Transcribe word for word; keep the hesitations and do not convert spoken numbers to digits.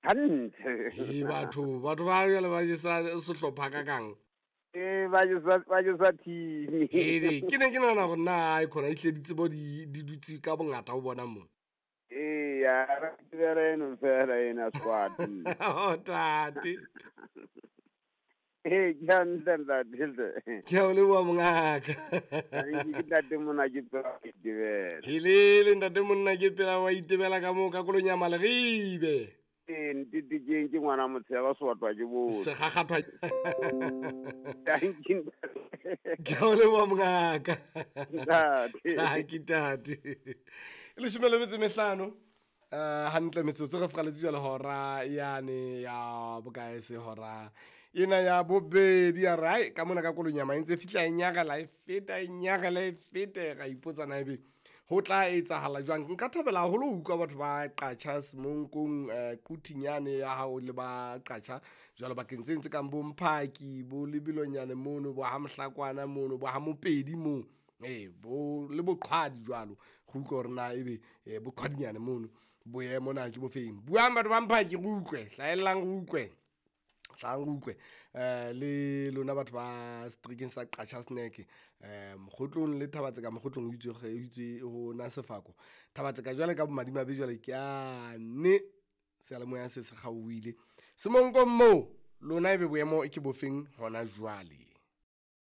Hantle. Ee batho, batho ba jwale ba jesa sehlopha ka kang. Ee, ba jesa ba jesa team. Ee, ke ne ke nahana hore na e khona ehlile ditsebo di di dutse ka bongata ho bona mo. Ee, ya re tebela eno fela ena squad. Oh tate. Ee, ke hantle ntate. Ke a o leboha mongaka. Ke ntate mona ke pela itebela. Helele ntate monna ke pela wa itebela ka moo ka Kolonyama Leribe. Ee, ntete ke ke ngwana motshega swatwa ke bo. Segagathwa. Thank you ntate. Ke a o leboha mongaka. Ntate. Taki tate. Leshome le metso e mehlano. Eh hantle metsotso re fraletse jwale hora yane ya bokae se hora ena ya bobedi ya re ai ka mona ka Kolonyama e ntse fihla e nyarela e feta e nyarela e fete ra ipotsa na ebe ho tla etsahala jwang. Nka thabela haholo ho utlwa batho ba Qacha Semonkong eh Quthinyane ya hao le ba Qacha jwalo bakeng tse ntse kang bo Mphaki bo Lebelonyane mono bo ha Mohlakwana mono bo ha Mopedi moo. Ee bo le boqhwadi jwalo go utlwa hore na ebe eh boqhwadinyane mono boemo na ke bofeng. Buang batho ba Mphaki re utlwe, hlahellang re utlwe. Hlahang re utlwe eh le lona batho ba seterekeng sa Qacha Snack eh Mokgotlong le Thabatseka Mokgotlong ho itswe ho itswe ho na sefako. Thabatseka jwale ka bomadimabe jwale ke ane seyalemoya se se kgaohile. Semonkong moo lona ebe boemo ke bofeng hona jwale.